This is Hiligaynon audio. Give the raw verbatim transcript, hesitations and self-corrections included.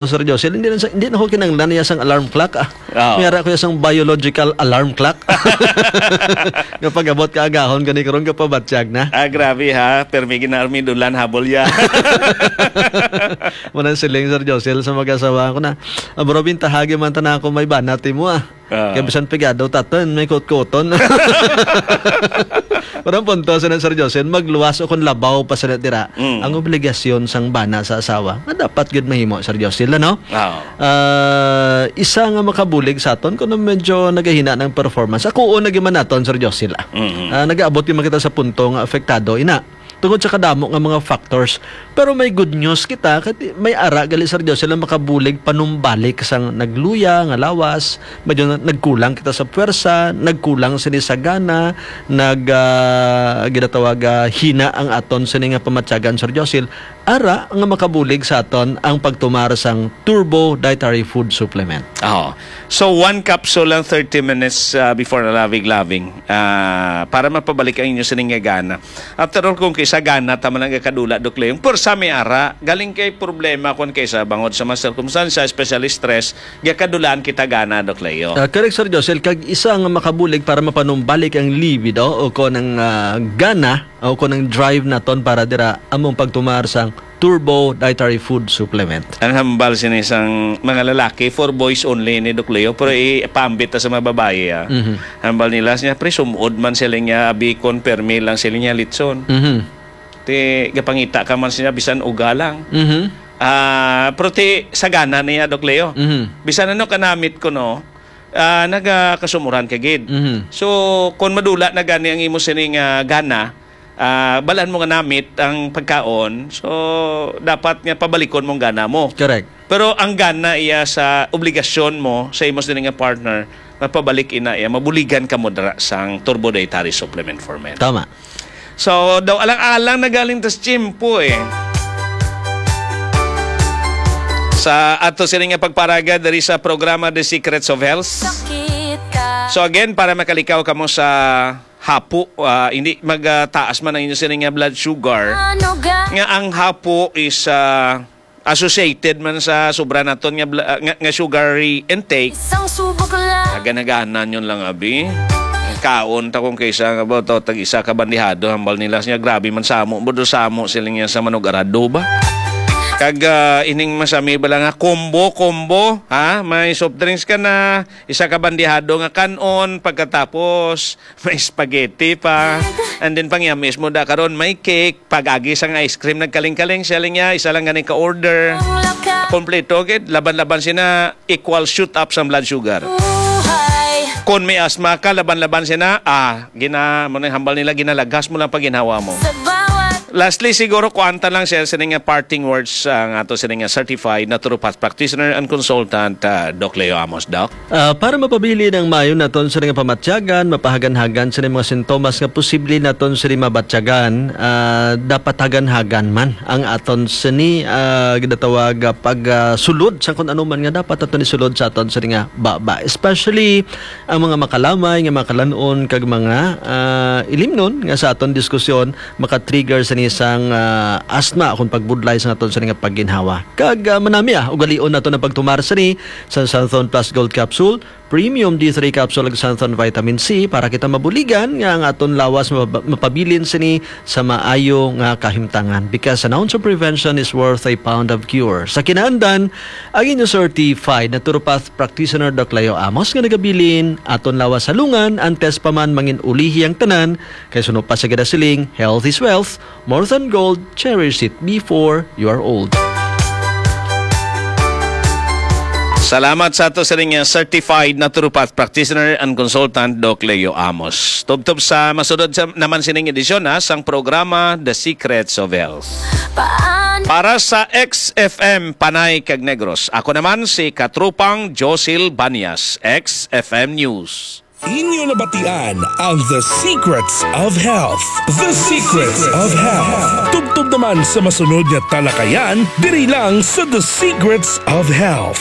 Sir Josel, hindi na sa, hindi na ko kinahanglan niya sang alarm clock, ah. Oo. May ara ko ya sang biological alarm clock. Nga pag-abot ka agahon gani karon ka pabatyag na. Ah, grabe ha. Permi ginarmi dulan habol ya. Manang siling, Sir Josel, sa mag-asawa ko na. Ah, bro, bintahagi man ta na ako may banat mo, ah. Ah. Kaya bisan pigado taton, may kutkuton. Pero ang punto, sa Sir Josel, magluwas o kung labaw pa sila dira, Mm. ang obligasyon sang bana sa asawa, nga dapat gud mahimo, Sir Josel, ano? Ah. Ah, isa nga makabulig sa aton, kung medyo nagahina ng performance. Ako, o, nagiman naton, Sir Josel, ah. Mm-hmm. Ah, nag-aabot yung makita sa punto nga apektado, ina. Tungod sa kadamo nga mga factors. Pero may good news kita, kay may ara gali, Sir Josel, ang makabulig panumbalik sang nagluya nga lawas, medyo na-, nagkulang kita sa puwersa, nagkulang sini sa gana, nag, ah, ginatawag, ah, hina ang aton sini nga pamatyagan, Sir Josel. Ara nga makabulig sa aton ang pagtumar sang Turbo Dietary Food Supplement. Oo. So, one capsule lang thirty minutes, ah, before na loving-loving, ah, para mapabalik ang inyo sining nga gana. After all, kung kaysa gana, tama lang gakadula, Doc Leo. Pero sa may ara, galing kay problema kung kaysa bangod sa mga sirkumstansya, especially stress, gakadulaan kita gana, Doc Leo. Ah, correct, Sir Josel. Kag isa nga makabulig para mapanumbalik ang libido o kon ang, ah, gana o kon ang drive naton para dira among pagtumar sang Turbo Dietary Food Supplement. Ang hambal sini sang mga lalaki, for boys only ni Doc Leo, pero ipaambit ta sa mga babayi, ah. Mhm. Hambal nila siya, "Pre, sumod man sila niya, abikon, permi lang sila niya, litson." Mhm. Ti, gapangita ka man siya, bisan uga lang. Mhm. Ah, pero ti, sagana niya, Doc Leo. Mhm. Bisan ano kanamit ko, no, ah, nagakasumuran ka gid. Mhm. So, kung madula na gani ang imo sining, ah, gana, ah, balaan mo nga namit ang pagkaon, so, dapat nga pabalikon mong gana mo. Correct. Pero ang gana iya sa obligasyon mo sa imo sini nga partner, mapabalik ina iya, mabuligan ka mo dira sang Turbo Dietary Supplement for Men. Tama. So, daw alang-alang na galing tas tiyempo, eh. Sa ato sini nga pagparaga diri sa programa The Secrets of Health. Sakit ka. So again, para makalikaw kamo sa hapo, ah, hindi magtaas man ang inyo sini nga blood sugar. Ano ga? Nga ang hapo is, ah, associated man sa sobra naton nga bla-, ah, nga, nga sugary intake. Isang subok lang. Aga naganan yun lang, abi. Ang kaon ta kung kaysa nga ba, to, tag isa ka bandihado, hambal nila siya, grabe man samo, budo samo sila niya sa manug arado ba? Kag, ah, ining masami bala nga combo, combo, ha? May soft drinks ka na, isa ka bandihado nga kanon, pagkatapos may spaghetti pa. And then pangyamis mo da karon may cake, pag-agi sang ice cream nagkaling-kaling siya lang niya, isa lang gani ka order. Kompleto gid, laban-laban sina equal shoot up sa blood sugar. Kon may asthma ka, laban-laban sina, ah, gina, mo nang hambal nila, ginalagas mo lang pag ginhawa mo. Lastly, siguro kuanta lang siya sa nga parting words ang ato sa nga certified naturopath practitioner and consultant, ah, Doc Leo Amos, Doc. Ah, para mapabilin ang maayo naton sa nga pamatyagan, mapahaganhagan sa mga sintomas nga posible naton sini mabatyagan, ah, dapat haganhagan man ang aton sini, ah, ginatawag, ah, pag, ah, sulod sa kung ano man nga dapat aton isulod sa aton sini nga baba. Especially ang mga makalamay nga makalan-on kag mga, ah, ilimnon nga sa aton diskusyon maka-trigger sini sang, ah, asthma kung pagbudlay sa aton sini nga pagginhawa. Kag, ah, manami, ah, ugalion nato ang pagtumar sini sa Xanthone Plus Gold Capsule, Premium D three Capsule, ug Xanthone Vitamin C para kita mabuligan nga ang aton lawas mapa-, mapabilin sini sa maayo nga kahimtangan. Because an ounce of prevention is worth a pound of cure. Sa kinaandan, ang inyo certified naturopath practitioner, Doc Leo Amos, nga nagabilin, aton lawas halungan, antes pa man mangin ulihi ang tanan, kay suno pa sa ginasiling, health is wealth, more than gold, cherish it before you are old. Salamat sa ato sa ring certified naturopath practitioner and consultant, Doc Leo Amos. Tubtob sa masunod sa, naman sining edisyon, ha, sang programa The Secrets of Health. Paan- Para sa X F M Panay kag Negros, ako naman si Katropang Josil Banyas, X F M News. Inyo nabatian ang The Secrets of Health. The Secrets of Health. Tubtob naman sa masunod nga talakayan, diri lang sa The Secrets of Health.